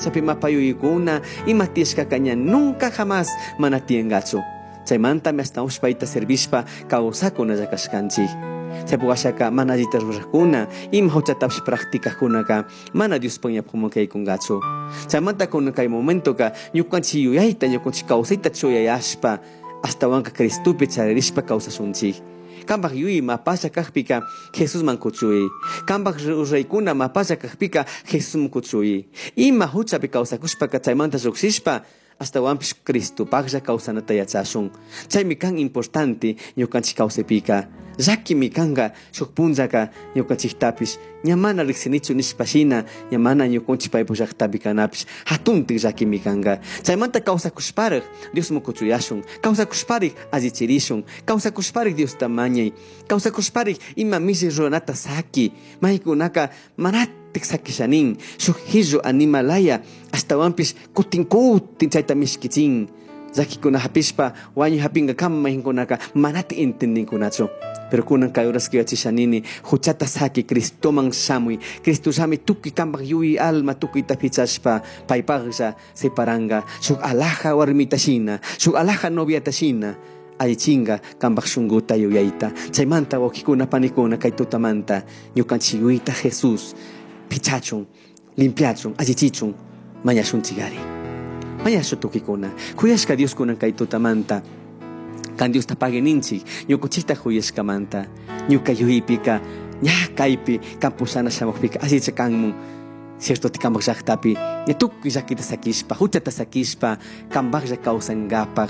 Pachapi mapa yuyaykuna ima tiyashkaka ña nunca jamás mana tiyangachu. Chaymantami ashtahuanpish payta servishpa kawsakunalla kashkanchik. Chaypuk ashaka mana allita rurakkuna, ima huchatapish practicajkunaka mana Diospaj ñawpajman kaykungachu. Chaymanta kunan kay momentoka ñukanchik yuyayta, ñukanchik kawsayta chuyayashpa ashtahuanka Cristopi charirishpa kawsashunchik. Cambaj yuyai mapalla cajpica Jesusman cuchui. Cambaj ruraicuna mapalla cajpica Jesusman cuchui. Ima huchapi causacushpaca chaymanta llujshishpa ashtahuanpish Cristopajlla causanata yachashun. Chaimi can importante ñucanchij causaipica. Llaquimi canga shuj punllaca ñucanchijtapish ña mana rijsinichu nishpa shina ña mana ñucunchij paypaj llajtapi canapish jatuntik llaquimi canga. Chaymanta causacushparaj Diosman cuchuyashun, causacushparij allichirishun, causacushparij Diosta mañai, causacushparij ima milli ruranata saqui, maykunaka manatik saquishanin, shuj hillu animalaya ashtahuanpish kutin kutin chayta mishkichin. Llaquikuna hapishpa wañuy hapingakama mayqinkunaka manati entendinkunachu. Pero kunan kay horas yachashanini huchata saqui Cristoman shamuy. Cristo llami tukuy kanpaj yuyay alma tukuyta pichashpa paypajlla separanga shuk alaja warmita shina, shuk alaja noviata shina allichinga kanpaj shunkuta yuyayta. Chaymanta wawqikuna panikuna kay tutamanta ñukanchik yuyayta Jesús pichachun, limpiachun, allichichun mañashunchik ari. Mañashu tukikuna. Kuyashka Dios kunan kay tutamanta kan Diosta pagui ninchik ñukunchikta kuyashkamanta ñuka yuyaypika ña kaypi kan pushana shamukpika allicha kanmun cierto kanpaj llaktapi ña tukuy llakita sakishpa huchata sakishpa kanpajlla kawsankapaj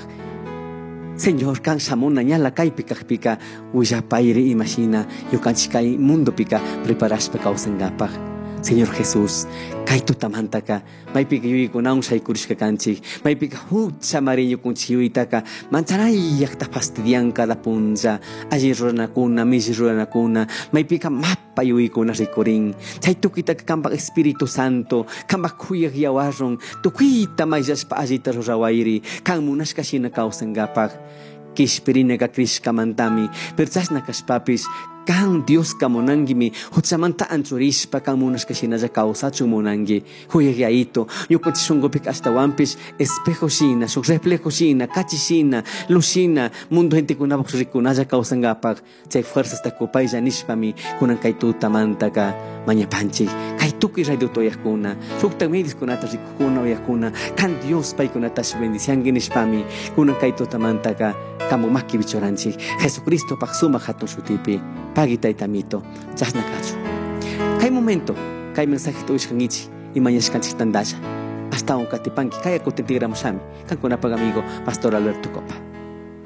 Señor kan shamuna ñala kaypi kajpika willapayri imashina ñukanchik kay mundopika preparashpa kawsankapaj. Señor Jesús, kay tutamantaka maypika yuyaykunawan shaykurishka kanchik, maypika hucha mari ñukunchik yuyaytaka manchanayllakta fastidian cada punlla, alli ruranakuna, milli ruranakuna, maypika mapa yuyaykuna rikurin. Chay tukuytaka kanpak Espíritu Santo, kanpak kuyak yawarrun, tukuyta mayllashpa allita rurawayri, kan munashka shina kawsankapaj. Kishpirinaka crishkamantami, pero chashna kashpapish kan Dioska munanguimi huchamanta anchurishpa kan munashka shinalla kawsachun munangui. Kuyaq yayito, ñukanchik shunkupika ashtawanpish espejo shina, shuk reflejo shina, kachi shina, luz shina, mundo gentekunapak rikunalla kawsankapak chay fuerzasta kupaylla nishpami kunan kay tutamantaka mañapanchik. Kay tukuy radio uyaqkuna, shuktak medioskunata rikukuna uyaqkuna, kan Dios paykunatash bendicianki nishpami kunan kay tutamantaka kanpak makipi churanchik. Jesucristopak sumak hatun shutipi. Pagui taytamito, chashna kachun. Kay momento, kay mensajeta uyashkankichik y mañashkanchik tantalla. Ashtawan katipanki, kaya kutin tigramushami. Kankunapak amigo, Pastor Alberto Copa.